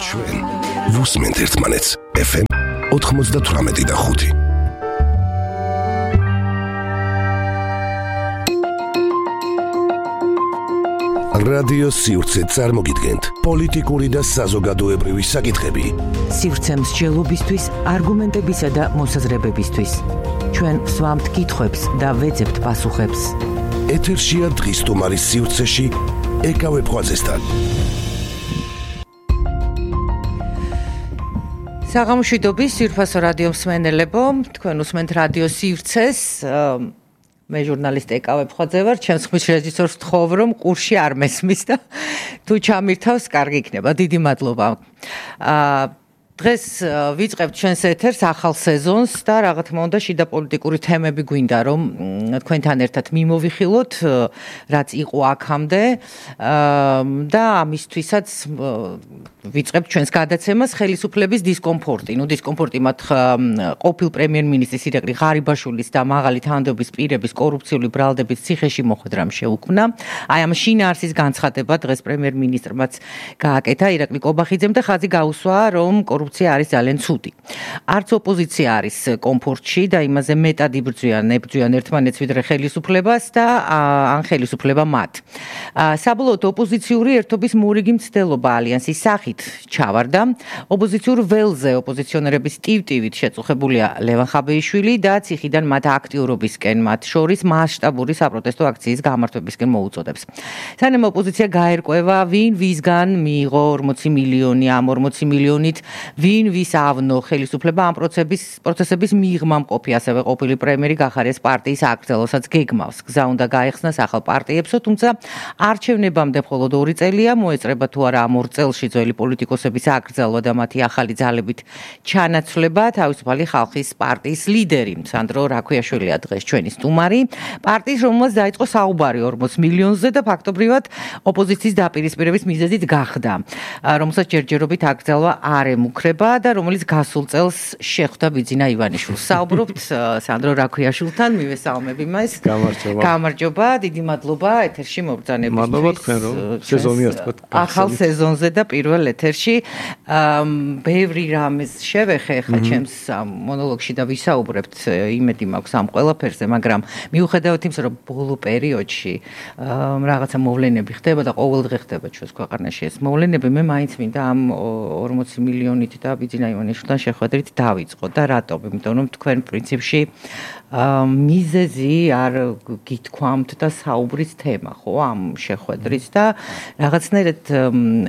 ჩვენ ვუსმენთ ერთმანეთს FM 98.5. რადიო სივრცე წარმოგიდგენთ პოლიტიკური და საზოგადოებრივი საკითხები. სივრცე მსჯელობისთვის, არგუმენტებისა და მოსაზრებებისთვის. ჩვენ ვსვამთ კითხვებს და ვეძებთ პასუხებს. ეთერშია დღის სტუმარის სივრცეში ეკავე ფღვაწესთან. საღამოშვიდობის სირფასო რადიო მსმენელებო, თქვენ უსმენთ რადიო სივრცეს. მე ჟურნალისტი ეკავე ფხვაძე ვარ, ჩემს ხმის რეჟისორს ვთხოვ, რომ ყურში არ მესმის და თუ ჩამირთავს, კარგი იქნება. დიდი მადლობა. დღეს ვიწყებთ ჩვენს ეთერს ახალ სეზონს და რა თქმა უნდა შიდა პოლიტიკური თემები გვინდა რომ თქვენთან ერთად მიმოვიხილოთ, რაც იყო აქამდე და ამისთვისაც ვიწყებთ ჩვენს გადაცემას ხელისუფლების დისკომფორტი. დისკომფორტი მათ ყოფილ პრემიერ-მინისტრის ირაკლი ღარიბაშვილის და მაღალი თანამდებობის პირების კორუფციული ბრალდების ციხეში მოხვედრამ შეუქმნა. აი ამ შინაარსის განცხადება დღეს პრემიერ-მინისტრმაც გააკეთა ირაკლი კობახიძემ და ხაზი გაუსვა, რომ კორუფცია არის ძალიან ცუდი. არც ოპოზიცია არის კომფორტში და იმაზე მეტად ებრძვიან ერთმანეთს ვიდრე ხელისუფლებას და ან ხელისუფლება მათ. საბოლოოდ ოპოზიციური ერთობის მორიგი მცდელობა ალიანსის სახით ჩავარდა. ოპოზიციურ ველზე ოპოზიციონერების ტივტივით შეწუხებულია ლევან ხაბეიშვილი და ციხიდან მათ აქტიურობისკენ მათ შორის მასშტაბური საპროტესტო აქციის გამართვებისკენ მოუწოდებს. სანამ ოპოზიცია გაერკვევა, ვინ ვისგან მიიღო 40 მილიონი, ამ 40 მილიონით ვინ ვის ავნო ხელისუფლება ამ პროცესების მიღმა მყოფი, ასევე ყოფილი პრემიერი გახარეს პარტიის აკრძალვასაც გეგმავს. გზა უნდა გაეხსნას ახალ პარტიებსო, თუმცა არჩევნებამდე მხოლოდ 2 წელია, მოეწრება თუ არა ამ 2 წელში ძველი პოლიტიკოსების აკრძალვა და მათი ახალი ძალებით ჩანაცვლება. თავისუფალი ხალხის პარტიის ლიდერი სანდრო რაქვიაშვილია დღეს ჩვენი სტუმარი. პარტიის, რომელმაც დაიწყო საუბარი 40 მილიონზე და ფაქტობრივად ოპოზიციის დაპირისპირების მიზეზით გახდა, რომელსაც ჯერჯერობით აკრძალვა არ ემუქრება და რომელიც გასულ წელს შეხვდა ბიძინა ივანიშვილს. საუბრობთ სანდრო რაქვიაშვილთან, მივესალმები მას. გამარჯობა, დიდი მადლობა ეთერში მობრძანებისთვის. მადლობა თქვენ რომ სეზონია თქვა. ახალ სეზონზე და პირველ ეთერში ბევრი რამეს შევეხე ხა ჩემს მონოლოგში და ვისაუბრებთ, იმედი მაქვს ამ ყველაფერზე, მაგრამ მიუხედავად იმისა, რომ ბოლო პერიოდში რაღაცა მოვლენები ხდება და ყოველდღე ხდება ჩვენს ქვეყანაში ეს მოვლენები, მე მაინც მინდა ამ 40 მილიონით და ბიძინა ივანიშვილთან შეხვედრით დავიწყო და რატომ? იმიტომ რომ თქვენ პრინციპში მიზეზი არ გითქვამთ და საუბრის თემა ხო ამ შეხვედრის და რაღაცნაირად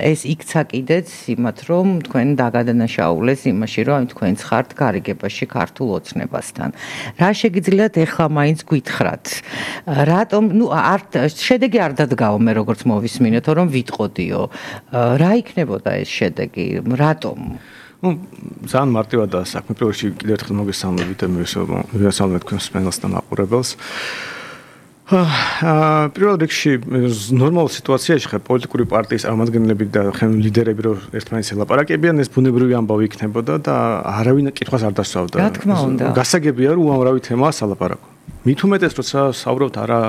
ეს იქცა კიდეც იმათ რომ თქვენ დაგადანაშაულეს იმაში რომ თქვენ ხართ გარიგებაში ქართულ ოცნებასთან. რა შეგიძლიათ ეხლა მაინც გითხრათ? რატომ შედეგი არ დადგაო მე როგორც მოვისმინეთ რომ ვიტყოდიო. რა იქნებოდა ეს შედეგი? რატომ? ძალიან მარტივად და საქმე პროექტში კიდევ ერთხელ მოგესალმებით და მივესალმებით თქვენს სპეციალს და მაყურებელს. პირველ რიგში ნორმალურ სიტუაციაში ხარ პოლიტიკური პარტიის წარმომადგენლები და ლიდერები რომ ერთმანეთს ელაპარაკებიან, ეს ბუნებრივი ამბავი იქნებოდა და არავინ კითხვას არ დასვავდა. რა თქმა უნდა. გასაგებია რომ უამრავი თემაა სალაპარაკო. მით უმეტეს როცა საუბრობთ არა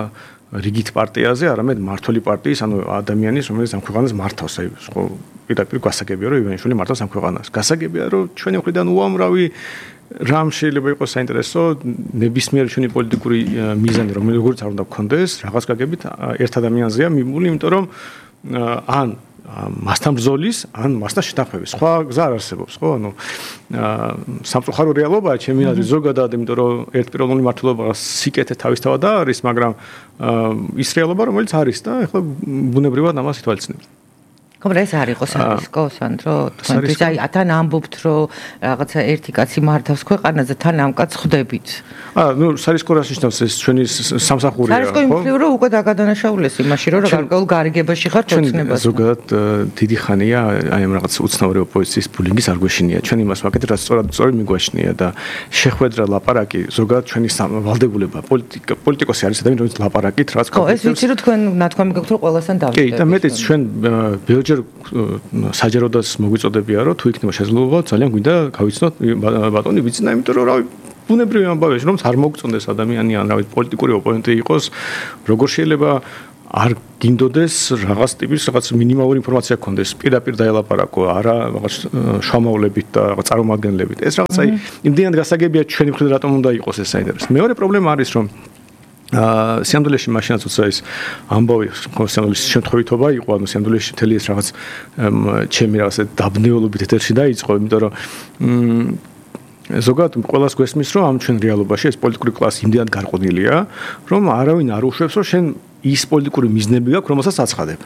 რიგით პარტიაზე, არამედ მართველი პარტიის, ანუ ადამიანის, რომელიც ამ ქვეყანას მართავს, აი ხო პირდაპირ გასაგებია რომ ივანიშვილი მართავს ამ ქვეყანას. გასაგებია რომ ჩვენი მხრიდან უამრავი რამ შეიძლება იყოს საინტერესო, ნებისმიერი ჩვენი პოლიტიკური მიზანი, როგორც არ უნდა გქონდეს, რაღაც გაგებით ერთ ადამიანზეა მიმული, იმიტომ რომ ან მასთან ბრძოლის, ან მასთან შეთანხმების. სხვა გზა არ არსებობს, ხო? ანუ სამწუხარო რეალობაა ჩემი აზრით ზოგადად, იმიტომ რომ ერთპიროვნული მართლობა სიკეთე თავისთავად არის, მაგრამ ის რეალობა რომელიც არის და ეხლა ბუნებრივად ამას ითვალისწინებთ. კომრა ეს არ იყო სარისკო, სანდრო, თქვენთვის აი თან ამბობთ რომ რაღაცა ერთი კაცი მართავს ქვეყანაზე, თან ამ კაცს ხვდებით. სარისკო რას ნიშნავს ეს ჩვენი სამსახურია, ხო? სარისკო იმხრივ რომ უკვე დაგადანაშაულეს იმაში, რომ გარკვეულ გარიგებაში ხართ ოცნებას. ზოგადად დიდი ხანია აი ამ რაღაც უცნაური ოპოზიციის ბულინგის არ გვეშინია. ჩვენ იმას ვაკეთებთ, რაც სწორად მიგვაშნია და შეხვედრა ლაპარაკი ზოგადად ჩვენი ვალდებულება პოლიტიკოსი არის ადამიანი, რომელიც ლაპარაკით რაც ხო, ეს ვიცი რომ თქვენ ნათქვამი გაქვთ რომ ყველასთან დავიწყდებით. კი, და მეტიც ჩვენ საჯაროდაც მოგვიწოდებია რომ თუ იქნება შესაძლებლობა ძალიან გვინდა გავიცნოთ ბატონი ბიძინა, იმიტომ რომ რავი ბუნებრივი ამბავია რომ არ მოგწონდეს ადამიანი ან რავი პოლიტიკური ოპონენტი იყოს, როგორ შეიძლება არ გინდოდეს რაღაც ტიპის რაღაც მინიმალური ინფორმაცია გქონდეს, პირდაპირ დაელაპარაკო, არა რაღაც შრომავლებით და რაღაც წარმომადგენლებით. ეს რაღაც აი იმდენად გასაგებია ჩვენი მხრიდან რატომ უნდა იყოს ეს საინტერესო. მეორე პრობლემა არის რომ სიამდვილეში მაშინაც უცა ის ამბავი სიამდვილეში შემთხვევითობა იყო, ანუ სიამდვილეში მთელი ეს რაღაც ჩემი რაღაც დაბნეულობით ეთერში დაიწყო, იმიტომ რომ ზოგადად ყველას გვესმის რომ ამ ჩვენ რეალობაში ეს პოლიტიკური კლასი იმდენად გარყვნილია, რომ არავინ არ უშვებს რომ შენ ის პოლიტიკური მიზნები გაქვს, რომელსაც აცხადებ.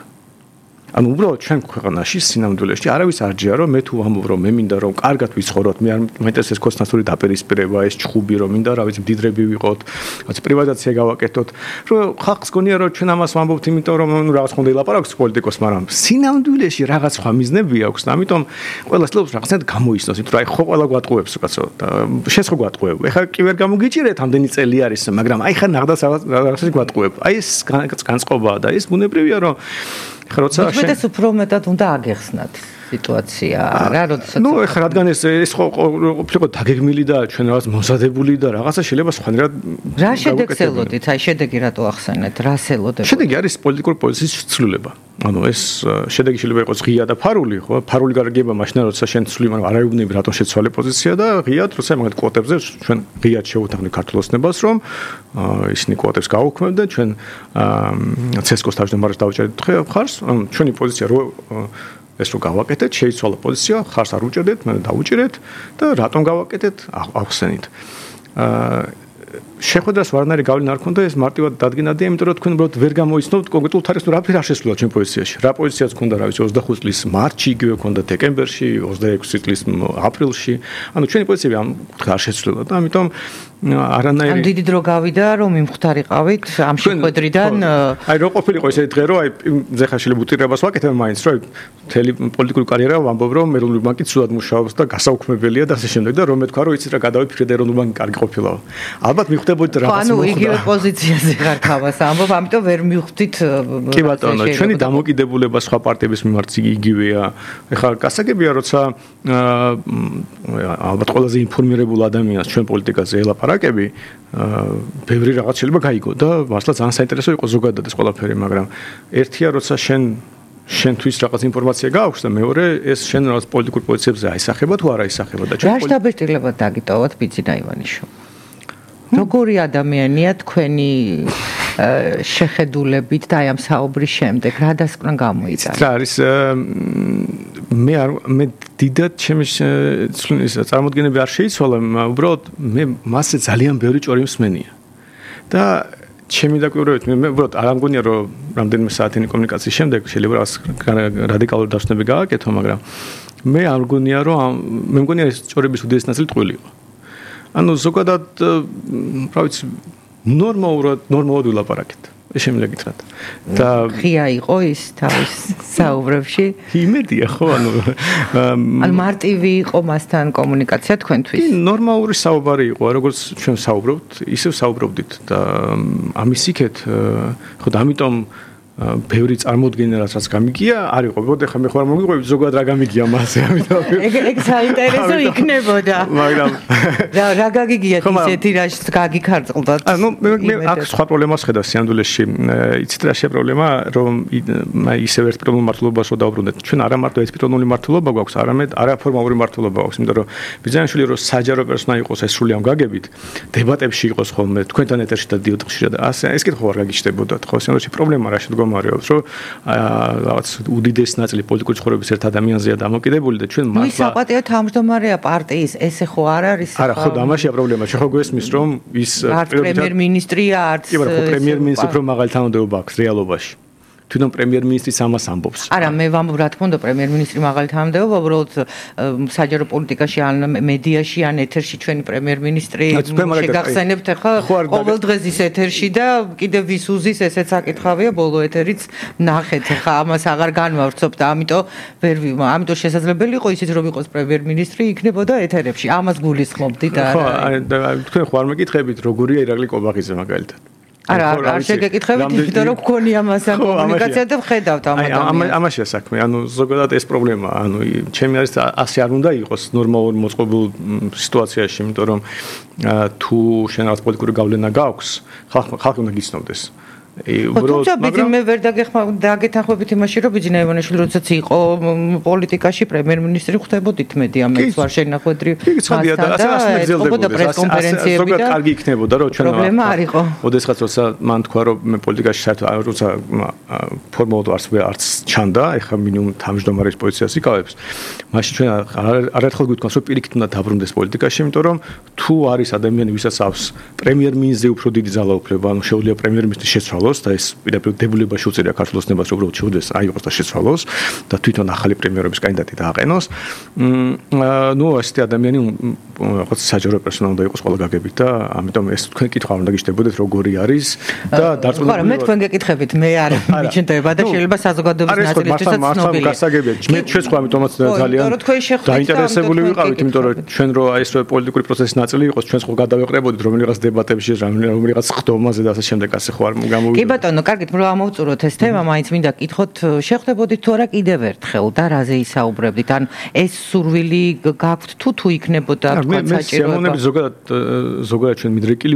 ანუ უბრალოდ ჩვენ ქვეყანაში სინამდვილეში არავის არ ჯია რომ მე თუ ვამბობ რომ მე მინდა რომ კარგად ვიცხოვროთ, მე არ მაინტერესებს კოსტანტური დაპირისპირება, ეს ჩხუბი რომ მინდა რა ვიცი მდიდრები ვიყოთ, რაც პრივატიზაცია გავაკეთოთ, რომ ხალხს გონია რომ ჩვენ ამას ვამბობთ, იმიტომ რომ რაღაც ხონდა ილაპარაკოს პოლიტიკოს, მაგრამ სინამდვილეში რაღაც სხვა მიზნები აქვს და ამიტომ ყველა ცდილობს რაღაცნაირად გამოიცნოს, იმიტომ რომ აი ხო ყველა გვატყუებს კაცო და შენ ხო გვატყუებ. ეხლა კი ვერ გამოგიჭირეთ ამდენი წელი არის, მაგრამ აი ხა ნახდა რაღაცას გვატყუებ. აი ეს განწყობაა და ეს ბუნებრივია რომ ხროცა შენ უფრო მეტად უნდა აგეხსნათ სიტუაცია რა როდესაც ნუ ეხლა რადგან ეს ხო ყოფილიყო დაგეგმილი და ჩვენ რაღაც მომზადებული და რაღაცა შეიძლება სხვანაირად რა შედეგს ელოდით აი შედეგი რატო ახსენეთ რას ელოდებოდა შედეგი არის პოლიტიკური პოზიციის ცვლილება ანუ ეს შედეგი შეიძლება იყოს ღია და ფარული ხო ფარული გარგება მაშინ როცა შენ ცვლი მაგრამ არ აიუბნები რატომ შეცვალე პოზიცია და ღიად როცა მაგათ კვოტებზე ჩვენ ღიად შევუთანხმდით ქართულ ოცნებას რომ ისინი კვოტებს გაუქმებდნენ ჩვენ ცესკოს თავმჯდომარეს დავჭერდით ხარს ჩვენი პოზიცია რო ეს რო გავაკეთეთ, შეიცვალა პოზიცია, ხარს არ უჭერდეთ, მე დავუჭერეთ და რატომ გავაკეთეთ, ახსენით. შეხვედრას ვარნარი გავლენა არ ქონდა, ეს მარტივად დადგენადია, იმიტომ რომ თქვენ უბრალოდ ვერ გამოიცნობთ კონკრეტულ თარიღს, რა ფერ არ შესულა ჩვენ პოზიციაში. რა პოზიციაც ქონდა, რა ვიცი, 25 წლის მარტში, იგივე ქონდა დეკემბერში, 26 წლის აპრილში. ანუ ჩვენი პოზიციები ამ არ შესულა და ამიტომ არანაირი ამ დიდი დრო გავიდა რომ მიმხდარიყავით ამ შეხვედრიდან აი რო ყოფილიყო ესე დღე რომ აი ზეხა შეიძლება უტირებას ვაკეთებ მაინც რომ მთელი პოლიტიკური კარიერა ვამბობ რომ ეროვნული ბანკი ცუდად მუშაობს და გასაუქმებელია და ასე შემდეგ და რომ მეთქვა რომ იცით რა გადავიფიქრე და ეროვნული ბანკი კარგი ყოფილაო ალბათ მიხვდებოდით რაღაც ანუ იგივე პოზიციაზე ხარ ხავას ამბობ ამიტომ ვერ მიხვდით კი ბატონო ჩვენი დამოკიდებულება სხვა პარტიების მიმართ იგივეა ეხლა გასაგებია როცა ალბათ ყველაზე ინფორმირებულ ადამიანს ჩვენ პოლიტიკაზე ელაპარაკები ბევრი რაღაც შეიძლება გაიგო და მართლა ძალიან საინტერესო იყო ზოგადად ეს ყველაფერი მაგრამ ერთია როცა შენთვის რაღაც ინფორმაცია გააქვს და მეორე ეს შენ რაღაც პოლიტიკურ პოზიციებზე აისახება თუ არ აისახება და ჩვენ რა დაბეჭდილებად დაგიტოვოთ ბიძინა ივანიშო როგორი ადამიანია თქვენი შეხედულებით და აი ამ საუბრის შემდეგ რა დასკვნა გამოიწვია რა არის მე დიდად ჩემი წარმოდგენები არ შეიცვალა უბრალოდ მე მასზე ძალიან ბევრი ჭორი მსმენია და ჩემი დაკვირვებით მე უბრალოდ არ ამგონია რომ რამდენიმე საათიანი კომუნიკაციის შემდეგ შეიძლება რადიკალური დასვენები გააკეთო მაგრამ მე არ მგონია რომ მე მგონია ეს ჭორების უდიდესი ნაწილი ტყუილი იყო ანუ ზოგადად რა ვიცი ნორმალურად ვილაპარაკეთ ეს შემიძლია და ღია იყო ის თავის საუბრებში იმედია ხო ანუ მარტივი იყო მასთან კომუნიკაცია თქვენთვის კი ნორმალური საუბარი იყო როგორც ჩვენ საუბრობთ ისევ საუბრობდით და ამის იქეთ ხო და ამიტომ ბევრი წარმოდგენა რაც გამიგია არ იყო მოდ ახლა მე ხარ მოგიყვებით ზოგადად რა გამიგია მასე ამიტომ ეგ საინტერესო იქნებოდა მაგრამ რა გაგიგიათ ისეთი რაც გაგიქარწყლდათ ანუ მე აქ სხვა პრობლემას ხედავ სიამდვილეში იცით რა შე პრობლემა რომ ისევ ერთ პიროვნულ მართლობას რო დაუბრუნდეთ ჩვენ არა მარტო ეს პიროვნული მართლობა გვაქვს არამედ არაფორმალური მართლობა გვაქვს იმიტომ რომ ბიზნესში რო საჯარო პერსონა იყოს ეს სრული ამ გაგებით დებატებში იყოს ხოლმე თქვენთან ეთერში დადიოდ ხშირად ასე ეს კითხვა არ გაგიჩნდებოდათ ხო სიამდვილეში პრობლემა რა შედგა მარიობს რომ რაღაც უდიდესი ნაწილი პოლიტიკური ცხოვრების ერთ ადამიანზეა დამოკიდებული და ჩვენ მართლა ის საპატიო თავმჯდომარეა პარტიის ესე ხო არ არის არა ხო დამაშია პრობლემა შეხო გვესმის რომ ის პრემიერ-მინისტრია არც კი მაგრამ პრემიერ-მინისტრი უფრო მაღალი თანამდებობა აქვს რეალობაში თვითონ პრემიერ-მინისტრის ამას ამბობს. არა, მე ვამბობ რა თქმა უნდა პრემიერ-მინისტრი მაღალი თანამდებობა, უბრალოდ საჯარო პოლიტიკაში ან მედიაში ან ეთერში ჩვენი პრემიერ-მინისტრი შეგახსენებთ ახლა ყოველ დღეს ის ეთერში და კიდევ ვის უზის ესეც საკითხავია ბოლო ეთერიც ნახეთ ახლა ამას აღარ განვავრცობ და ამიტომ შესაძლებელი იყო ისიც რომ იყოს პრემიერ-მინისტრი იქნებოდა ეთერებში. ამას გულისხმობდით არა? ხო, თქვენ ხო არ მეკითხებით როგორია ირაკლი კობახიძე მაგალითად. არა, არ შეგეკითხებით, იმიტომ რომ გქონია მასთან კომუნიკაცია და ვხედავთ ამ ადამიანს. ამაშია საქმე, ანუ ზოგადად ეს პრობლემა, ანუ ჩემი არის ასე არ უნდა იყოს ნორმალური მოწყობილ სიტუაციაში, იმიტომ რომ თუ შენ რაღაც პოლიტიკური გავლენა გაქვს, ხალხი უნდა გიცნობდეს. თუმცა მე ვერ დაგეთანხმებით იმაში, რომ ბიძინა ივანიშვილი როდესაც იყო პოლიტიკაში პრემიერ-მინისტრი ხდებოდით მედი ამეც ვარ შენახვედრი მასთან და პრესკონფერენციები და ზოგადად კარგი იქნებოდა რომ ჩვენ პრობლემა არ იყო. ოდესღაც როცა მან თქვა რომ მე პოლიტიკაში საერთოდ როცა ფორმალურად არც ჩანდა, ეხლა მინიმუმ თავმჯდომარის პოზიციას იკავებს. მაშინ ჩვენ არაერთხელ გვიტყვას რომ პირიქით უნდა დაბრუნდეს პოლიტიკაში, იმიტომ რომ თუ არის ადამიანი, ვისაც აქვს პრემიერ-მინისტრზე უფრო დიდი ძალაუფლება, ანუ შეუძლია პრემიერ-მინისტრი შეცვალოს და ეს პირდაპირ დებულებაში უწევია ქართულ ოცნებას, რომ უბრალოდ შეუძლიეს აიღოს და შეცვალოს და თვითონ ახალი პრემიერობის კანდიდატი დააყენოს. ნუ ასეთი ადამიანი რაღაც საჯარო პერსონა უნდა იყოს ყველა გაგებით და ამიტომ ეს თქვენ კითხვა უნდა გიშდებოდეთ როგორი არის და დარწმუნებული ვარ. მე თქვენ გეკითხებით, მე არ მიჩნდება და შეიძლება საზოგადოების ნაწილისთვისაც ცნობილია. მე ჩვენც ხო ამიტომაც ძალიან დაინტერესებული ვიყავით, იმიტომ რომ ჩვენ რო აი ეს პოლიტიკური პროცესის ნაწილი იყოს, ჩვენც ხო გადავეყრებოდით რომელიღაც დებატებში, რომელიღაც ხდომაზე და ასე შემდეგ, ასე ხო არ გამოვიდა. კი ბატონო, კარგით, რომ ამოვწუროთ ეს თემა, მაინც მინდა გითხოთ, შეხვდებოდით თუ არა კიდევ ერთხელ და რაზე ისაუბრებდით? ან ეს სურვილი გაქვთ თუ იქნებოდა თქვა საჭიროება? მე ზოგადად ჩვენ მიდრეკილი